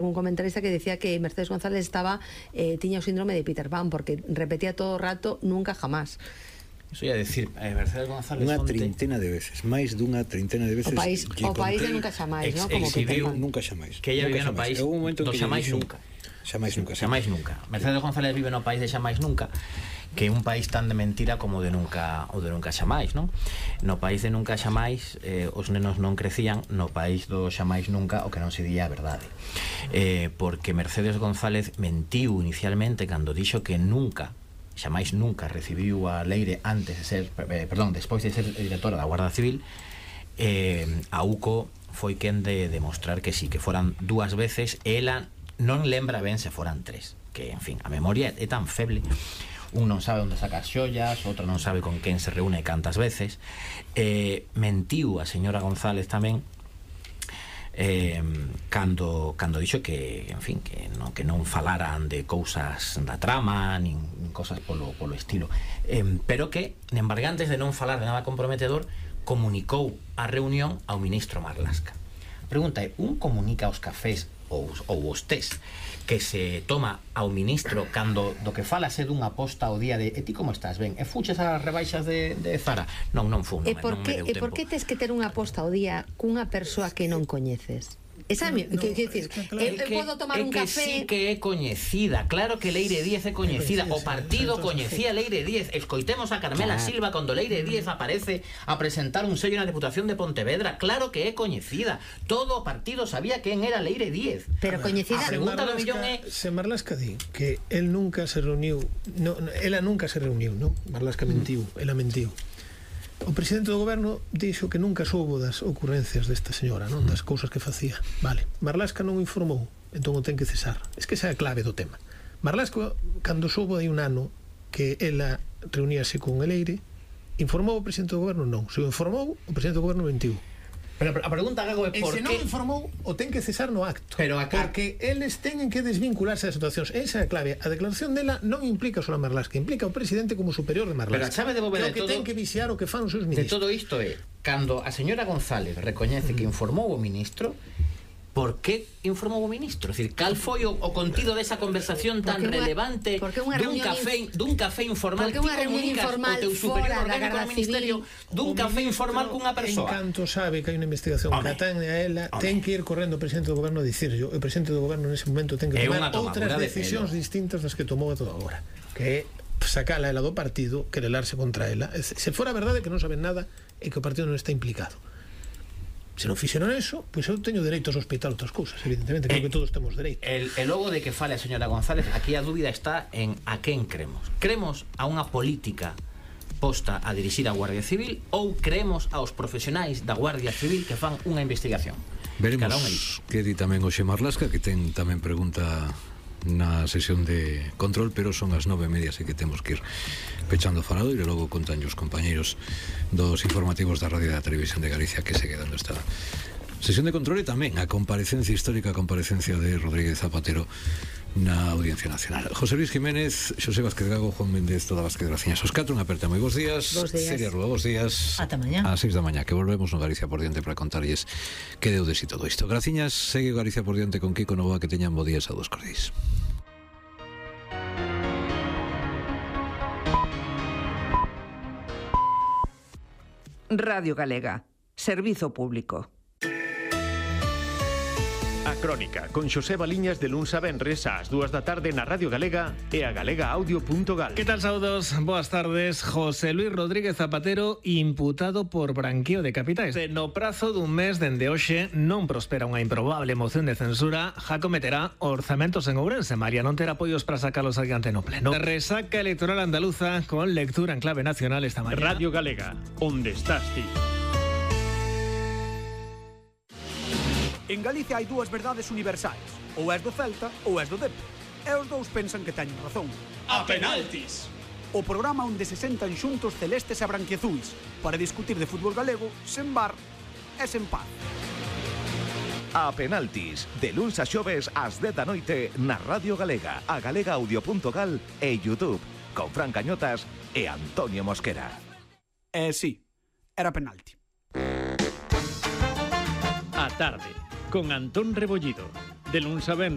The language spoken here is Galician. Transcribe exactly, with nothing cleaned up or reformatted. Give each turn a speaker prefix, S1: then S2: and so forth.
S1: un comentarista que decía que Mercedes González estaba eh, tiña o síndrome de Peter Pan porque repetía todo o rato nunca jamás.
S2: Iso ia decir, eh, Mercedes González
S3: unha
S2: fonte...
S3: trintena de veces, máis dunha trintena de veces.
S1: O país, o país de nunca xamais, ¿no? Como
S2: Peter
S1: Pan.
S3: Nunca xamais.
S2: Que ella vive no país do xamais nunca.
S3: Xamais nunca.
S2: Xamais nunca. Mercedes González vive no país de xamais nunca, que é un país tan de mentira como de nunca ou de nunca xamais, non? No país de nunca xamais eh, os nenos non crecían, no país do xamais nunca o que non se día a verdade. Eh, porque Mercedes González mentiu inicialmente cando dixo que nunca xamais nunca recibiu a Leire antes de ser, eh, perdón, despois de ser directora da Guardia Civil. eh, a UCO foi quen de demostrar que sí, que foran dúas veces, e ela non lembra ben se foran tres, que, en fin, a memoria é tan feble. Un non sabe onde saca as xollas, outro non sabe con quen se reúne cantas veces. Eh, mentiu a señora González tamén eh, cando, cando dixo que, en fin, que non, que non falaran de cousas da trama, nin cosas polo, polo estilo. Eh, pero que, embargantes de non falar de nada comprometedor, comunicou a reunión ao ministro Marlaska. A pregunta é, un comunica aos cafés ou, ou os tés que se toma ao ministro cando do que fala se dunha posta ao día de e ti como estás, ben, e fuches as rebaixas de, de Zara? Non, non fun, non,
S1: e por
S2: non
S1: que,
S2: me deu
S1: e
S2: tempo.
S1: por que tes que ter unha posta ao día cunha persoa que non coñeces? Esa é, no, que, que decir,
S2: claro,
S1: eu,
S2: que,
S1: eu podo tomar
S2: é
S1: un
S2: que
S1: café.
S2: sí que é coñecida, claro que Leire Díez é coñecida, o partido coñecía Leire Díez. Escoitemos a Carmela
S1: claro.
S2: Silva cando Leire Díez aparece a presentar un sello na Deputación de Pontevedra, claro que é coñecida. Todo o partido sabía quen era Leire Díez.
S1: Pero coñecida.
S2: A pregunta do millón é
S4: se Marlaska di que el nunca se reuniu, no, ela nunca se reuniu, non? Marlaska mentiu, ela mentiu. O presidente do goberno dixo que nunca soubo das ocurrencias desta señora, non? Das cousas que facía. Vale, Marlaska non o informou, entón o ten que cesar. Es que esa é a clave do tema. Marlaska, cando soubo hai un ano que ela reuníase con Leire, informou o presidente do goberno? Non. Se o informou, o presidente do goberno mentiu.
S2: Pero a pregunta Gago é por
S4: que... E se non informou, o ten que cesar no acto.
S2: Pero acá...
S4: Porque eles teñen que desvincularse das situacións. Esa é a clave. A declaración dela non implica só a Marlaska, implica o presidente como superior de Marlaska.
S2: Pero a chave de bóveda
S4: que o que
S2: todo...
S4: ten que vixiar o que fan os seus ministros.
S2: De todo isto é, cando a señora González recoñece que informou o ministro, por que informou o ministro? É dicir, cal foi o, o contido desa conversación tan
S1: porque
S2: relevante
S1: unha,
S2: dun café, dun café informal? Ti comunicas o teu superior orgánico ao ministerio dun café informal cunha persoa?
S4: En canto sabe que hai unha investigación que atañe a ela, ten que ir correndo o presidente do goberno a dicirlo. O presidente do goberno nese momento ten que tomar outras decisións distintas das que tomou a toda hora, que é sacala ela do partido, querelarse contra ela. Se fora verdade que non saben nada e que o partido non está implicado. Se non fixeron eso, pois eu teño dereito a sospeitar outras cousas, evidentemente, creo eh, que todos temos dereito.
S2: El, el logo de que fale a señora González, aquí a dúbida está en a quen cremos. Cremos a unha política posta a dirixir a Guardia Civil ou creemos aos profesionais da Guardia Civil que fan unha investigación?
S3: Veremos que di tamén Oxe Marlaska, que ten tamén pregunta na sesión de control, pero son as nove e media, así que temos que ir pechando o faradoiro e logo contan os compañeiros dos informativos da Radio e da Televisión de Galicia que segue dando esta sesión de control e tamén a comparecencia histórica, a comparecencia de Rodríguez Zapatero na Audiencia Nacional. José Luis Jiménez, Xosé Vázquez Gago, Juan Méndez, toda Vázquez Graciñas, os catro, unha aperta moi bons días.
S1: Bos días.
S3: Celia Rúa, bos días.
S5: Ata mañá.
S3: A seis da mañá, que volvemos no Galicia por diante para contarlles que deu de si todo isto. Graciñas, segue Galicia por diante con Kiko Novoa, que teñan bo días a dos cordéis.
S6: Radio Galega, servizo público.
S7: A Crónica, con Xosé Baliñas de luns a venres ás dúas da tarde na Radio Galega e a galega audio punto gal.
S8: Que tal, saudos? Boas tardes. José Luis Rodríguez Zapatero imputado por branqueo de capitais. No prazo dun mes dende hoxe non prospera unha improbable moción de censura, já cometerá orzamentos en Ourense. María non terá apoios para sacalos adiante no pleno. Resaca electoral andaluza con lectura en clave nacional esta mañá.
S7: Radio Galega, onde estás ti?
S9: En Galicia hai dúas verdades universais. Ou és do Celta ou és do Depor. E os dous pensan que teñen razón.
S10: A penaltis!
S9: O programa onde se sentan xuntos celestes e branquiazuis para discutir de fútbol galego sen bar e sen paz.
S11: A penaltis, de luns a xoves ás dez da noite na Radio Galega, a galega audio punto gal e YouTube, con Fran Cañotas e Antonio Mosquera.
S9: Eh, sí, era penalti.
S7: A tarde, con Antón Rebollido. de luns a venres.